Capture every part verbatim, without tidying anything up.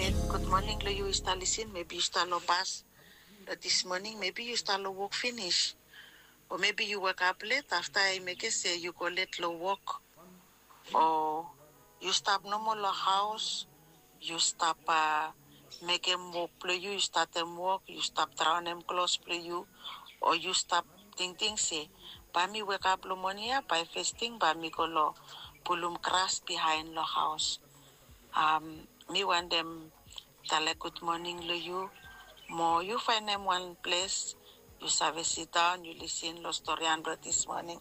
Gud moning long yu i stap lisin, mebi yu stap long bas long dis moning, mebi yu stap long wok finis, o mebi yu wekap let afta i mekem se yu go let long wok, o yu stap nomo long haos, yu stap mekem wok blong yu, yu statem wok, yu stap draonem klos blong yu, o yu stap tingting se bae mi wekap long moning ya, bae fes ting bae mi go long pulum gras bihaen long haos. Mi wantem talem gud moning long yu. Mo yu faenem wan ples yu save sidaon, yu lisin long storian blong dis moning.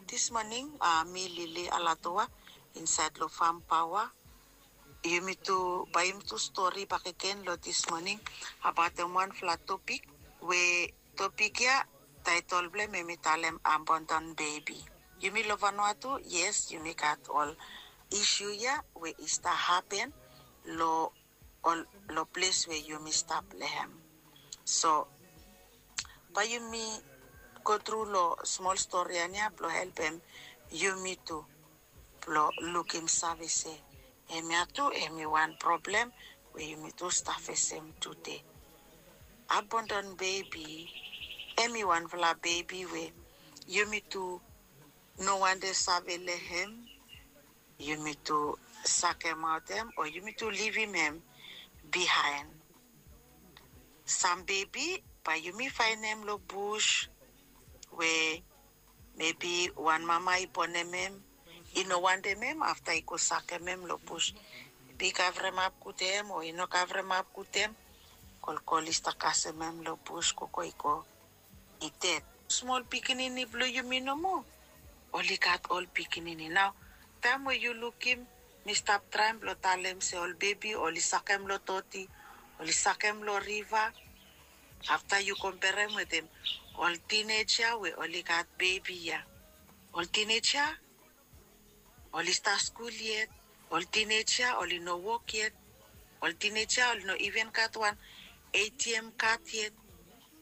Dis moning mi Lily Alatoa insaed long Fam Paoa. Yumi tu, bae yumi tu stori bakegen long dis moning abaotem wanfala topik we topik ya, taetol blong hem hemi talem abandon bebi. Yumi long Vanuatu, yes, yumi gat ol isu ya we i stap hapen long ol long ples we yumi stap long hem. So bae yumi gotru long smol storian ya blong helpem yumi tu blong lukim save se hemia tu hemi wan problem we yumi tu stap fesem tude. Abandon bebi hemi wanfala bebi we yumi tu no wantem save long hem, yumi tu sakemaot hem o yumi tu livim hem bihaen. Sam bebi bae yumi faenem long bus we mebi wan mama i bonem hem, i no wantem hem, afta i go sakem hem long bus. Mebi i kavremap gud hem o i no kavremap gud hem, kolkol i stap kasem hem long bus, gogo i go, i ded. Smol pikinini blong yumi nomo oli gat ol pikinini. Nao taem we yu lukim, mi stap traem blong talem se ol bebi oli sakem long doti, oli sakem long riva. Afta yu komperem wetem ol tineja we oli gat bebi ya. Ol tineja oli stap skul yet, ol tineja oli no wok yet, ol tineja oli no iven gat wan ATM kad yet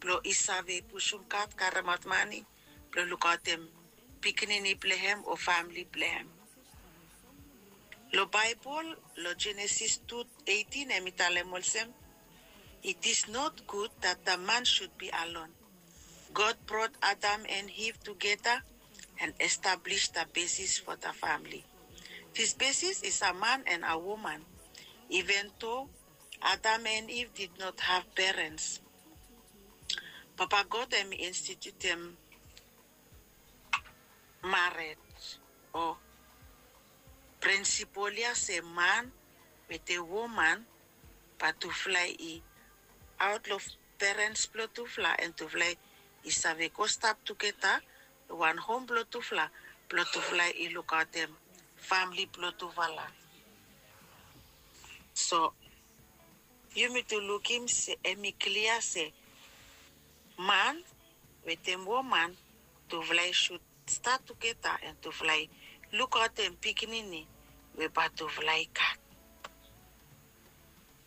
blong i save pusum kad karemaot mane blong lukaotem pikinini blong hem o famle blong hem. Long Baebol, long Jenesis tu eitin, hemi talem olsem, "It is not good that the man should be alone. God brought Adam and Eve together and established the basis for the family. This basis is a man and a woman, even though Adam and Eve did not have parents." Papa God hemi institutem mared o prinsipol ya se man wetem woman bae tufala i aot long perens blong tufala, and tufala i save go stap tugeta long wan hom blong tufala, blong tufala i lukaotem famle blong tufala. So yumi tu lukim se hemi klia se man wetem woman, tufala i sud stat tugeta and tufala i lukaotem pikinini we bae tufala i gat.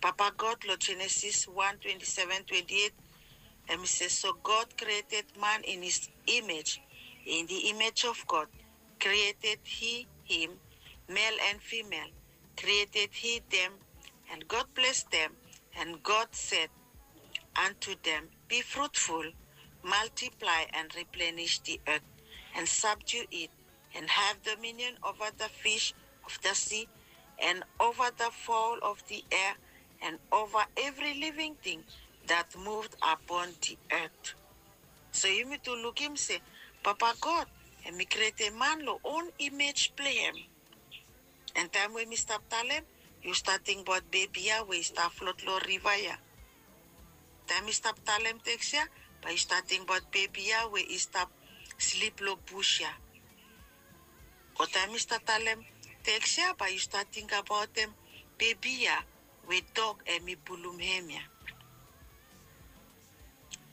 Papa God long Jenesis wan, twenty-seven, twenty-eight, hemi se, "So God created man in his image. In the image of God created he him, male and female created he them, and God blessed them, and God said unto them, Be fruitful, multiply and replenish the earth, and subdue it, and have dominion over the fish of the sea, and over the fowl of the air, and over every living thing that moved upon the earth." So yumi tu lukim se Papa God hemi krietem man long own imej blong hem. And taem we mi stap talem, yu stap tingbaot bebi ya we i stap flot long riva ya. Taem mi stap talem teks ya, bae yu stap tingbaot bebi ya we i stap slip long bus ya. O taem mi stap talem teks ya, bae yu stap tingbaot hem bebi ya we dog hemi pulum hem ya.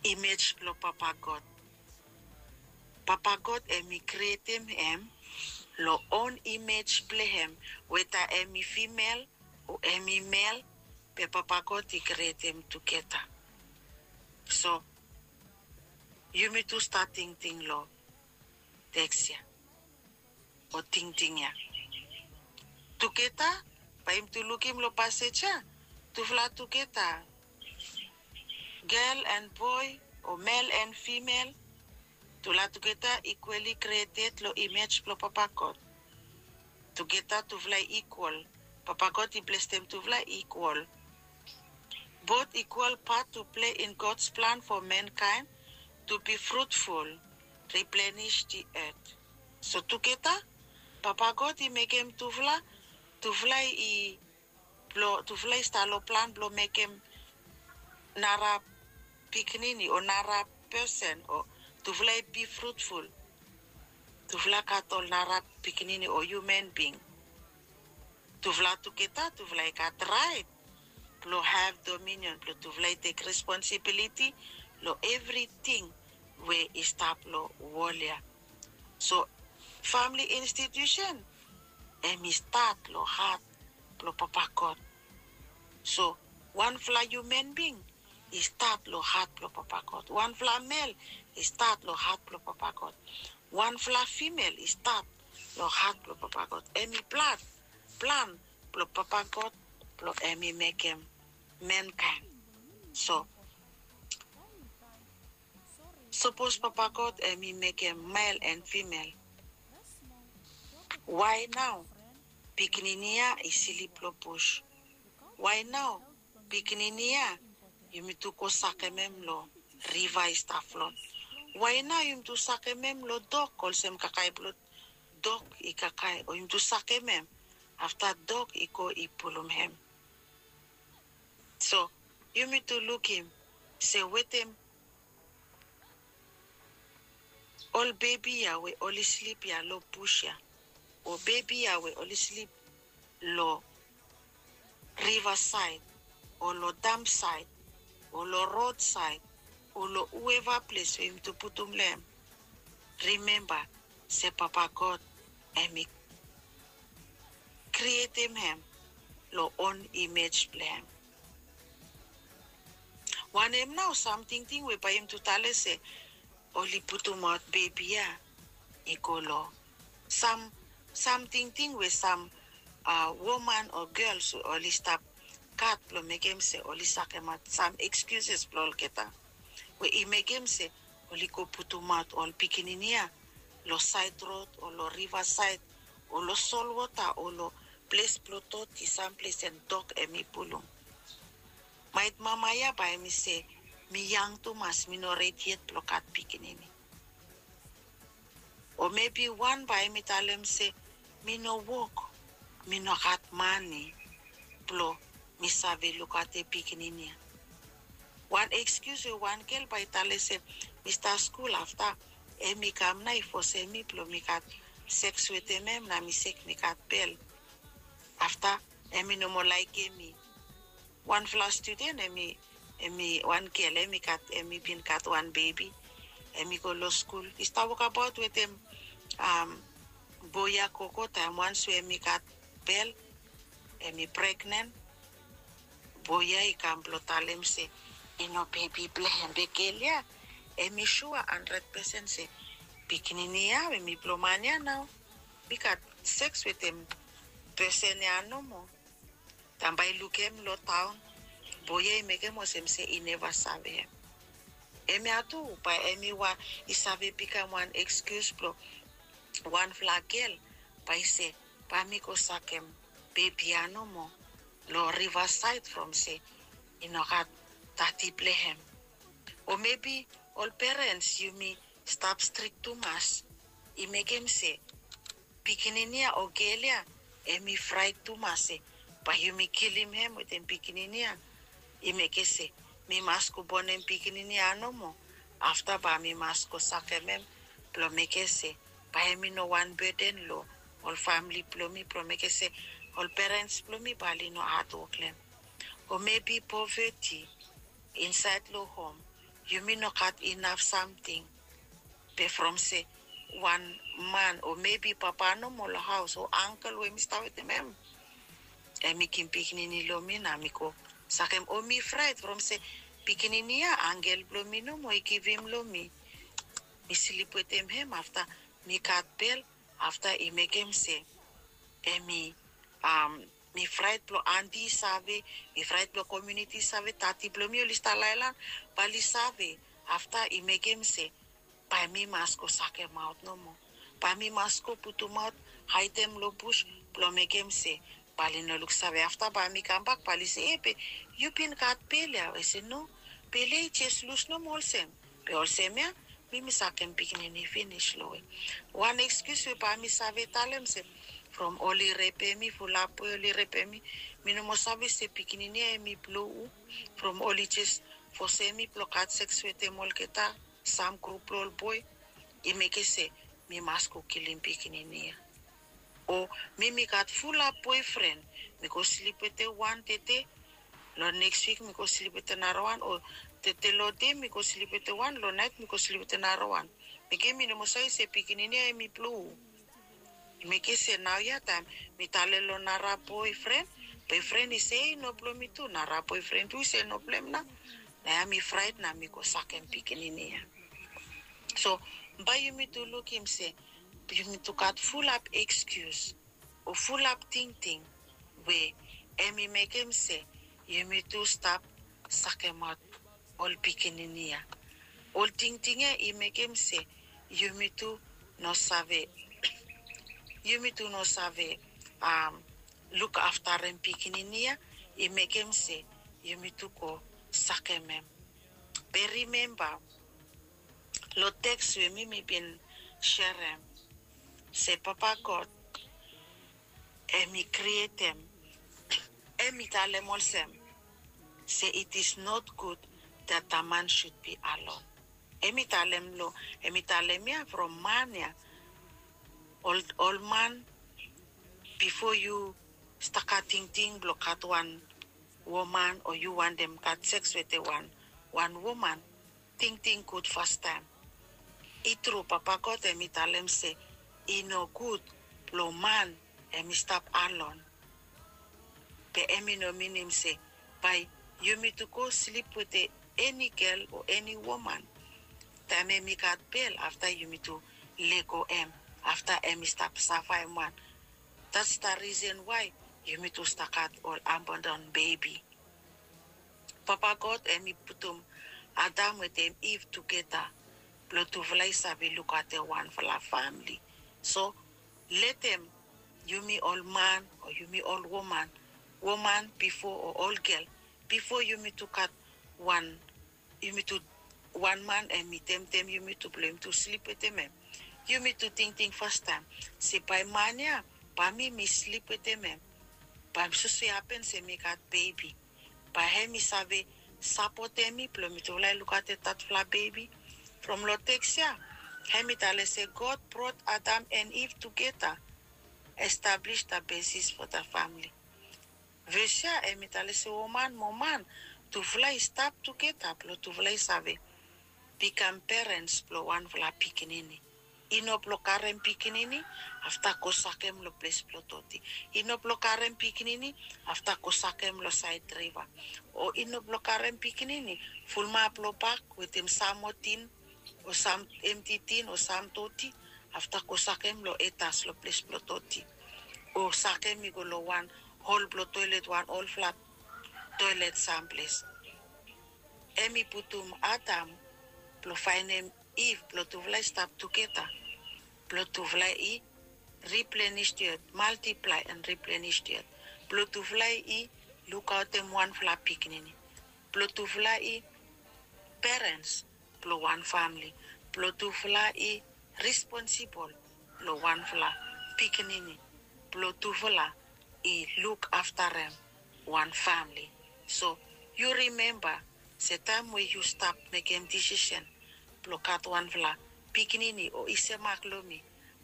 Imej blong Papa God. Papa God hemi krietem hem long own imej blong hem, weta hemi fimel o hemi mel, be Papa God i krietem tugeta. So yumi tu stap tingting long teks ya o tingting ya tugeta. Bae yumi tu lukim long pasej ya, tufala tugeta, gel and boe o mel and fimel, tufala tugeta ikwali krieted long imej blong Papa God. Tugeta tufala i ikwal. Papa God i blesem tufala ikwal. Both ikwal pat tu plei in God's plan fo mankaen tu bi frutful, riplenish di et. So tugeta Papa God i mekem tufala, tufala i blong tufala i stap long plan blong mekem nara pikinini o nara pesen o tufala i bi frutful. Tufala gat ol nara pikinini o hiuman bing. Tufala tugeta tufala i gat raet blong hav dominion blong tufala i tek responsibiliti long evriting we i stap long wol ya. So famili institusen hem i stat long hat blong Papa God. So wanfala hiuman bing i stat long hat blong Papa God. Wanfala mel i stat long hat blong Papa God. Wanfala fimel i stat long hat blong Papa God. Hem i plan, plan blong Papa God blong hem i mekem mankaen. So sapos Papa God hem i mekem mel and fimel, wae nao pikinini ya i slip long bus? Wae nao pikinini ya yumi tu go sakem hem long riva i stap flot? Wae nao yumi tu sakem hem long dok olsem kakae blong dok i kakae, o yumi tu sakem hem afta dok i go i pulum hem? So yumi tu lukim se wetem ol bebi ya we oli slip ya long bus ya, o bebi ya we oli slip long rivasaed, o long dampsaed, o long rodsaed, o long hueva ples we yumi tu putum long hem, rimemba se Papa God hem i krietem hem long on imej blong hem. Wanem nao sam tingting we bae yumi tu talem se oli putumaot bebi ya i go long sam, sam tingting we sam woman o gels we oli stap gat blong mekem se oli sakemaot sam ekskiuses blong olgeta we i mekem se oli go putumaot ol pikinini ya long saed rod o long rivasaed o long solwota o long ples blong doti, sam ples en dok hem i pulum. Maet mama ya bae hem i se, mi yang tumas, mi no redi yet blong gat pikinini. O mebi wan bae hem i talem se, mi no wok, mi no gat mane blong mi save lukaotem pikinini ya. Wan ekskius we wan gel bae i talem se, mi stap skul afta hem i kam nao i fosem mi blong mi gat seks wetem hem na mi sek mi gat bel. Afta hem i no moa laekem mi. Wanfala studen hem i, hem i wan gel hem i gat, hem i bin gat wan bebi. Hem i go long skul, i stap wokabaot wetem boe ya gogo taem wans we hem i gat bel, hem i pregnen. Boe ya i kam blong talem se i no bebi blong hem, be gel ya hem i sua handred pesen se pikinini ya hem i blong man ya nao. Mi gat seks wetem pesen ya nomo. Taem bae i lukem long taon, boe ya i mekem olsem se i neva save hem. Hemia tu bae hemi wan i save bikam wan ekskius blong wanfala gel bae i se, bae mi go sakem bebi ya nomo long rivasaed from se i no gat dati blong hem. O mebi ol perens yumi stap strik tumas i mekem se pikinini ya o gel ya hemi fraet tumas se bae yumi kilim hem wetem pikinini ya. I mekem se mi mas go bonem pikinini ya nomo, afta bae mi mas go sakem hem blong mekem se bae hemi no wan beden long ol famle blong mi, blong mekem se ol perens blong mi bae oli no hadwok long hem. O mebi poveti insaed long hom, yumi no gat inaf samting. Be from se wan man o mebi papa nomo long haos o angkel we mi stap wetem hem, hemi givim pikinini long mi na mi go sakem, o mi fraet from se pikinini ya angkel blong mi nomo i givim long mi. Mi slip wetem hem afta mi gat bel, afta i mekem se hemi mi fraet blong anti i save, mi fraet blong komiuniti i save, tati blong mi oli stap laelan, bae oli save. Afta i mekem se bae mi mas go sakemaot nomo. Bae mi mas go putumaot, haedem long bus blong mekem se bae oli no luksave. Afta bae mi kambak bae oli se, e, be yu bin gat bel ya? Ae se no, bel ya i jes lus nomo olsem. Be olsem ya mi mi sakem pikinini finis long we. Wan ekskius we bae mi save talem se from oli repem mi, fulap we oli repem mi, mi no moa save se pikinini ya hemi blong hu. From oli jes fosem mi blong gat seks wetem olgeta, sam grup blong ol boe, i mekem se mi mas go kilim pikinini ya. O mi mi gat fulap boefren, mi go slip wetem wan tede, long neks wik mi go slip wetem narawan, o tede long dei mi go slip wetem wan, long naet mi go slip wetem narawan. Mekem mi no moa save se pikinini ya hemi blong hu. I mekem se naoia taem mi talem long nara boefren, boefren i se i no blong mi tu, nara boefren tu i se i no blong hem nao. Naoia mi fraet nao mi go sakem pikinini ya. So bae yumi tu lukim se yumi tu gat fulap ekskius o fulap tingting we hemi mekem se yumi tu stap sakemaot ol pikinini ya. Ol tingting ya i mekem se yumi tu no save, yumi tu no save lukaftarem pikinini ya, i mekem se yumi tu go sakem hem. Be rimemba long teks we mi mi bin serem se Papa God hemi krietem, hemi talem olsem se it is not good that a man should be alone. Hemi talem long, hemi talem ya from man ya, ol, ol man, bifo yu stap gat tingting blong gat wan woman o yu wantem gat seks wetem wan, wan woman, tingting gud fastaem. I tru, Papa God hemi talem se i no gud blong man hemi stap alon. Be hemi no minim se bae yumi tu go slip wetem eni gel o eni woman. Taem hemi gat bel, afta yumi tu lego hem, afta hemi stap safaem wan. That's the reason why yumi tu stap gat ol abandon bebi. Papa God hemi putum Adam wetem Iv tugeta blong tufala i save lukaotem wanfala famle. So letem yumi ol man o yumi ol woman, woman bifo o ol gel, bifo yumi tu gat wan, yumi tu, wan man hemi temtem yumi tu blong yumi tu slip wetem hem. Yumi tu tingting fastaem se bae man ya, bae mi mi slip wetem hem, bae soso i hapen se mi gat bebi, bae hemi save sapotem mi blong mitufala i lukaotem tatufala bebi. From long teks ya hemi talem se God brought Adam and Eve together, establish the basis for the family. Ves ya hemi talem se woman mo man, tufala i stap tugeta blong tufala i save bikam perens blong wanfala pikinini. I no blong karem pikinini afta go sakem long ples blong doti. I no blong karem pikinini afta go sakem long saed riva. O i no blong karem pikinini fulumap long bak wetem sam moa tin o sam emti tin o sam doti, afta go sakem long etas long ples blong doti, o sakem i go long wan hol blong toelet, wan olfala toelet samples. Hemi putum Adam blong faenem Iv blong tufala i stap tugeta, blong tufala i replenish the earth, multiply and replenish the earth, blong tufala i lukaotem wanfala pikinini, blong tufala i perens blong wan famle, blong tufala i responsibol long wanfala pikinini, blong tufala i lukaftarem wan famle. So yu rimemba se taem we yu stap mekem disisen blong gat wanfala pikinini o i semak long mi,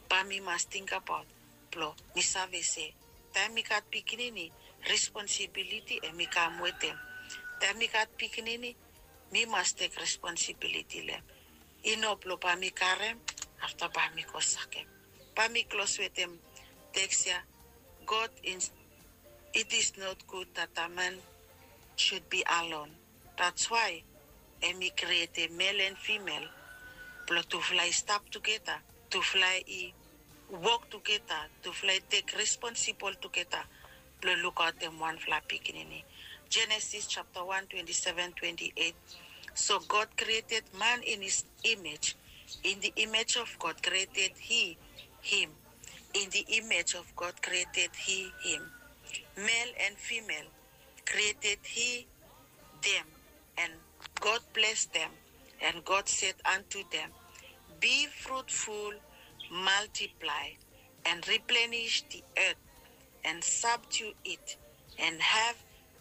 bae mi mas tingbaot blong mi save se taem mi gat pikinini, responsibiliti hemi kam wetem. Taem mi gat pikinini, mi mas tek responsibiliti long hem. I no blong bae mi karem afta bae mi go sakem. Bae mi klos wetem teks ya. God in, it is not good that a man should be alone. That's why hemi krietem mel and fimel blong tufala i stap tugeta, tufala i wok tugeta, tufala i tek responsibol tugeta blong lukaotem wanfala pikinini. Genesis chapter one, twenty-seven, twenty-eight. So God created man in his image. In the image of God created he him. In the image of God created he him. Male and female created he them. And God blessed them. And God said unto them, be fruitful, multiply, and replenish the earth, and subdue it, and have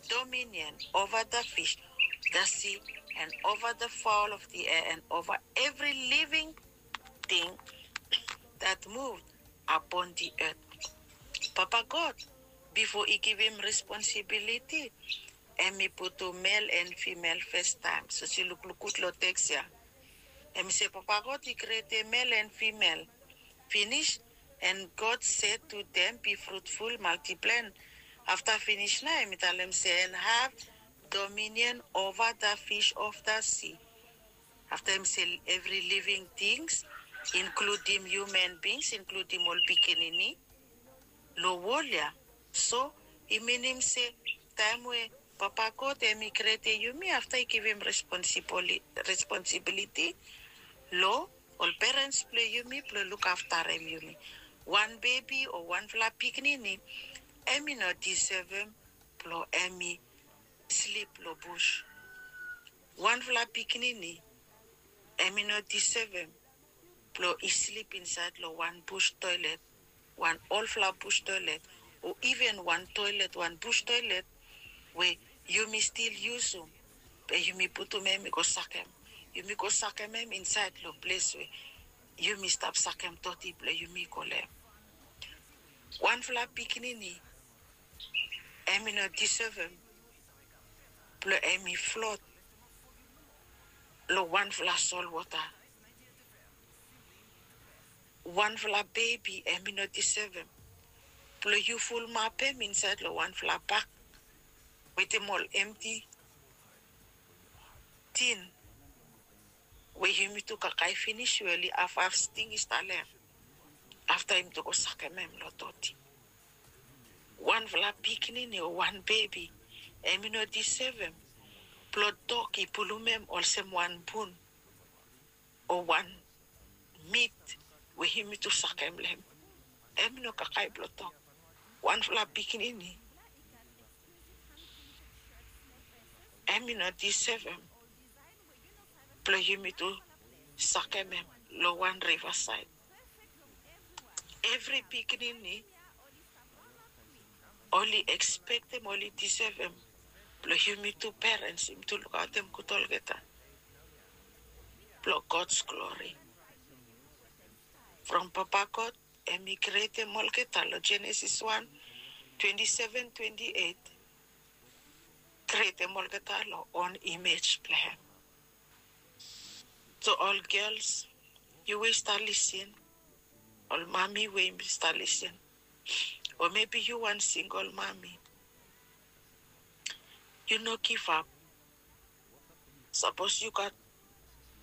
dominion over the fish, the sea, and over the fowl of the air, and over every living thing that moved upon the earth. Papa God, bifo i givim responsibiliti, hemi putum male and female first time. So yu lukluk gud long teks ya. Hemi se Papa God i krietem male and female. Finish. And God said to them, be fruitful, multiply. Afta finish nao hemi talem se, and have dominion over the fish of the sea. Afta hemi se, every living things, inkludim human beings, inkludim ol pikinini long wol ya. So i minim se taem we Papa God hemi krietem yumi, afta i givim responsibiliti long ol perens blong yumi blong lukaftarem yumi. Wan bebi o wanfala pikinini hemi no disevem blong hemi slip long bus. Wanfala pikinini hemi no disevem blong i slip insaed long wan bus toelet, wan olfala bus toelet, o iven wan toelet, wan bus toelet we yumi stil yusum, be yumi putum hemi go sakem. Yumi go sakem hem insaed long ples we yumi stap sakem doti blong yumi go long hem. Wanfala pikinini hemi no disevem blong hemi flot long wanfala solwota. Wanfala bebi hemi no disevem blong yu fulumap hem insaed long wanfala bak wetem ol emti tin we yumitu kakae finis we oli hafhaf sting i stap long hem. Afta yumitu go sakem hem long doti. Wanfala pikinini o wan bebi hemi no disevem blong dog i pulum hem olsem wan bun o wan mit we yumitu sakem long hem. Hemi no kakae blong dog. Wanfala pikinini hemi no disevem blong yumitu sakem hem long wan rivasaed. Evri pikinini oli ekspektem, oli disevem blong yumitu perens yumitu lukaotem gud olgeta blong God's glory. From Papa God hemi krietem olgeta long Genesis wan, twenty-seven, twenty-eight, krietem olgeta long own imej blong hem. So ol gels, yu we yu stap lisin, ol mami we yu stap lisin, o mebi yu wan singol mami, yu no givap. Sapos yu gat